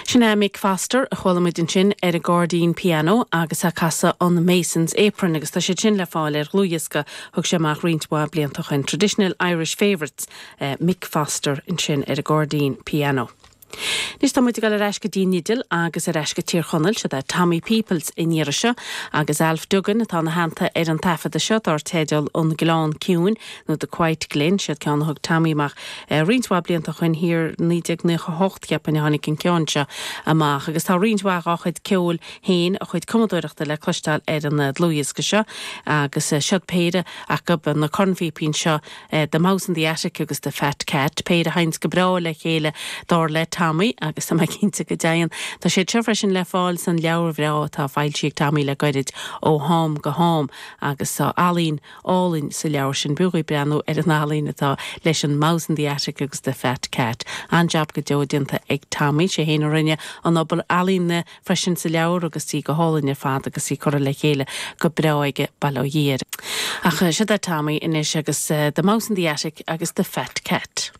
Sin é Mick Foster a chuala muid ansin ar an gcairdín pianó agus é ag casadh an Mason's Apron agus tá siad sin le fáil ar dhlúthdhiosca a thug sé amach roinnt mhaith blianta ó shin, Traditional Irish Favourites, Mick Foster ansin ar an gcairdín pianó. Anois tá muid ag dul ar ais go dtí an fhidil agus ar ais go Tír Chonaill, siod é Tommy Peoples an iarraidh seo agus Alf Duggan atá ina theannta ar an taifeadadh seo dár teideal An Gleann Ciúin nó The Quiet Glen, siod ceann a thug Tommy amach roinnt mhaith blianta ó shin, thiar 1998 cheapfainn a tháinig an ceann seo amach agus tá roinnt mhaith dhá chuid ceoil féin, a chuid cumadóireachta le cloisteáil ar an dlúthdhiosca seo agus siod péire acu, na cornphíopaí anseo, The Mouse in the Attic agus The Fat Cat, péire a théanns go breá le chéile dar le Tommy agus tá mé cinnte go dtéann. Tá siad seo freisin le fáil san leabhar bhreá atá foilsithe ag Tommy le goirid, Ó Ham go Ham agus tá ealaín álainn sa leabhar sin. B'fhiú dhaoibh breathnú ar an ealaín atá leis an Mouse in the Attic agus The Fat Cat. An-jab go deo déanta ag Tommy. Sé fhéin a rinne an obair ealaíne freisin sa leabhar agus í go hálainn ar fad agus í curtha le chéile go breá aige, bail ó Dhia air. Ach siod é Tommy anois agus The Mouse in the Attic agus The Fat Cat.